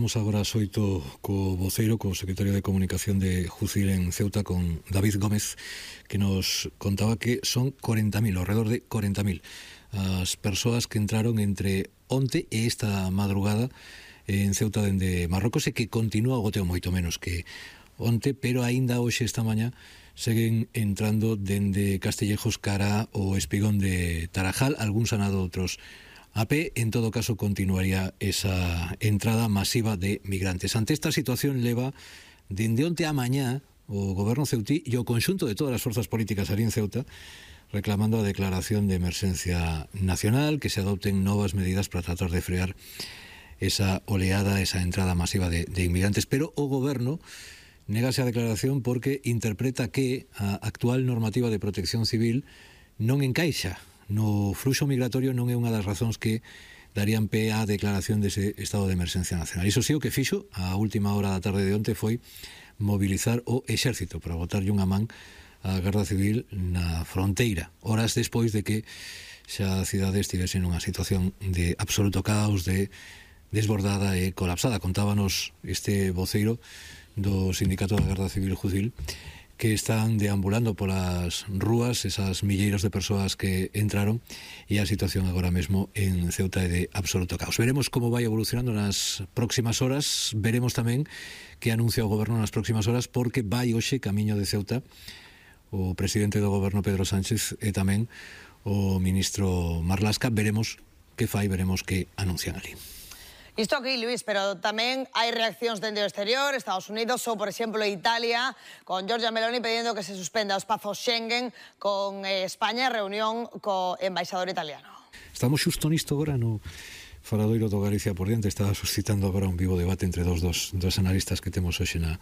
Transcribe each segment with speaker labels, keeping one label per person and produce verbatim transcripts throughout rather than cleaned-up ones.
Speaker 1: Vamos agora xoito co voceiro, co secretario de Comunicación de Jucil en Ceuta, con David Gómez, que nos contaba que son corenta mil, ao redor de corenta mil, as persoas que entraron entre onte e esta madrugada en Ceuta dende Marrocos, e que continúa o goteo moito menos que onte, pero aínda hoxe esta mañá seguen entrando dende Castellejos cara o Espigón de Tarajal, algúns han dado outros a pé. En todo caso continuaría esa entrada masiva de migrantes. Ante esta situación leva dende onte a mañá o goberno ceutí e o conxunto de todas as forzas políticas ali en Ceuta reclamando a declaración de emerxencia nacional, que se adopten novas medidas para tratar de frear esa oleada, esa entrada masiva de, de inmigrantes. Pero o goberno negase a declaración porque interpreta que a actual normativa de protección civil non encaixa no fluxo migratorio, non é unha das razóns que darían pé á declaración dese estado de emerxencia nacional. Iso sí, o que fixo a última hora da tarde de onte foi mobilizar o exército para botarlle unha man á Garda Civil na fronteira, horas despois de que xa a cidade estivese nunha situación de absoluto caos, de desbordada e colapsada. Contábanos este voceiro do Sindicato da Garda Civil Jucil que están deambulando polas rúas esas milleiros de persoas que entraron, e a situación agora mesmo en Ceuta é de absoluto caos. Veremos como vai evolucionando nas próximas horas. Veremos tamén que anuncia o goberno nas próximas horas, porque vai hoxe camiño de Ceuta o presidente do goberno Pedro Sánchez e tamén o ministro Marlaska. Veremos que fai, veremos que anuncian ali.
Speaker 2: Isto aquí, Luís, pero tamén hai reaccións dende o exterior, Estados Unidos ou, por exemplo, Italia, con Giorgia Meloni pedindo que se suspenda o espazo Schengen, con eh, España, reunión co embaixador italiano.
Speaker 1: Estamos xusto nisto agora no faladoiro do Galicia por diante. Estaba suscitando agora un vivo debate entre dos, dos, dos analistas que temos hoxe na,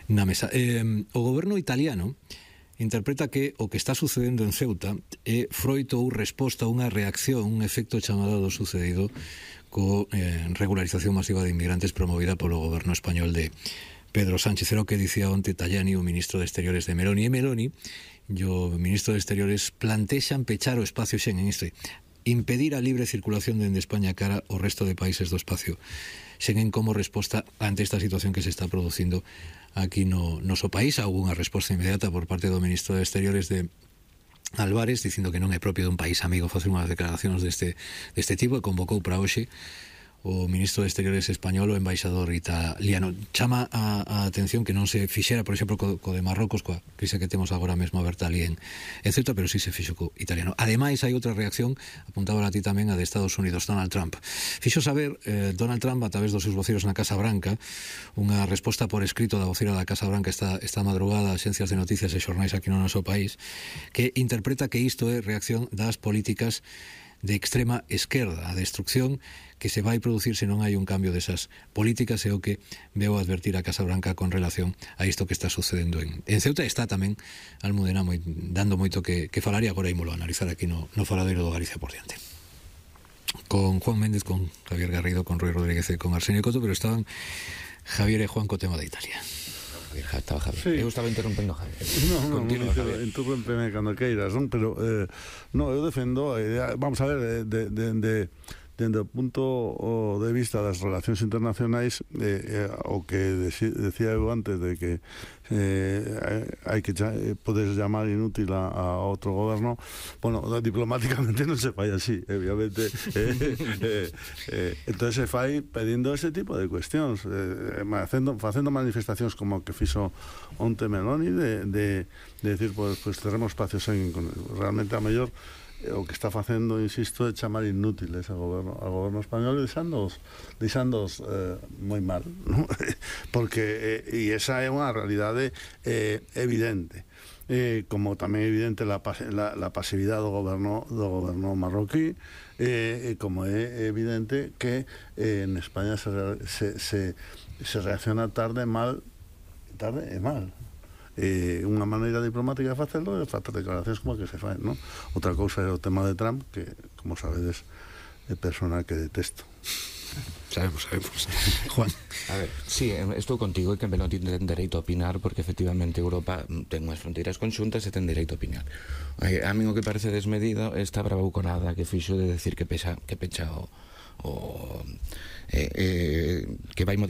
Speaker 1: na mesa. Eh, o goberno italiano interpreta que o que está sucedendo en Ceuta é froito ou resposta a unha reacción, un efecto chamado do sucedido co eh, regularización masiva de inmigrantes promovida polo goberno español de Pedro Sánchez. Era o que dicía onte Tajani, o ministro de Exteriores de Meloni. E Meloni e o ministro de Exteriores plantexan pechar o espacio Schengen, isto é, impedir a libre circulación dende España cara ao resto de países do espacio Schengen como resposta ante esta situación que se está producindo aquí no noso país. Houve unha resposta inmediata por parte do ministro de Exteriores de Álvarez, dicindo que non é propio dun país amigo facer unhas declaracións deste, deste tipo, e convocou para hoxe o ministro de Exteriores español, o embaixador italiano. Chama a, a atención que non se fixera, por exemplo, co, co de Marrocos, coa crise que temos agora mesmo aberta ali en, en Ceuta, pero sí se fixo co italiano. Ademais, hai outra reacción, apuntaba a ti tamén, a de Estados Unidos. Donald Trump fixo saber, eh, Donald Trump, a través dos seus voceiros na Casa Branca, unha resposta por escrito da voceira da Casa Branca esta, esta madrugada a axencias de noticias e xornais aquí no noso país, que interpreta que isto é reacción das políticas de extrema esquerda, a destrucción que se vai producir se non hai un cambio desas políticas, é o que veo advertir a Casa Branca con relación a isto que está sucedendo en, en Ceuta. Está tamén Almudena moi, dando moito que, que falar, e agora ímolo a analizar aquí no, no faladeiro do Galicia por diante. Con Juan Méndez, con Javier Garrido, con Rui Rodríguez e con Arsenio Coto, pero estaban Javier e Juan co tema de Italia.
Speaker 3: Estaba Javier.
Speaker 4: Sí.
Speaker 3: Eu estaba interrompendo a Javier.
Speaker 4: No, no,
Speaker 3: Continua,
Speaker 4: no,
Speaker 3: Javier.
Speaker 4: interrúmpeme cando queiras, non? Pero eh, no, eu defendo a idea, vamos a ver, de, de, de, dende o punto de vista das relacións internacionais, eh, eh, o que deci, decía eu antes de que eh, hai que eh, podes llamar inútil a, a outro goberno, bueno, diplomáticamente non se fai así, obviamente. eh, eh, eh, entón se fai pedindo ese tipo de cuestións, eh, facendo, facendo manifestacións como que fixo onte Meloni, de, de, de decir, pues, pues teremos espacios en, realmente a mellor o que está facendo, insisto, é chamar inútiles ao goberno, ao goberno español, e deixándoos, deixándoos eh, moi mal, ¿no? Porque, eh, e esa é unha realidade eh, evidente. Eh, como tamén é evidente la, la, la pasividade do goberno, do goberno marroquí, eh, como é evidente que eh, en España se, se, se, se reacciona tarde, mal, tarde e mal. Eh, unha maneira diplomática de facelo é facer declaracións como que se fai, non? Outra cousa é o tema de Trump, que, como sabedes, é persona que detesto.
Speaker 1: Sabemos, sabemos. Juan.
Speaker 3: A ver, sí, estou contigo, e que non ten dereito a opinar, porque efectivamente Europa ten unhas fronteiras conxuntas e ten dereito a opinar. A mí o que parece desmedido é esta bravuconada que fixo de decir que pecha, que pecha o, o eh, eh, que vai modificar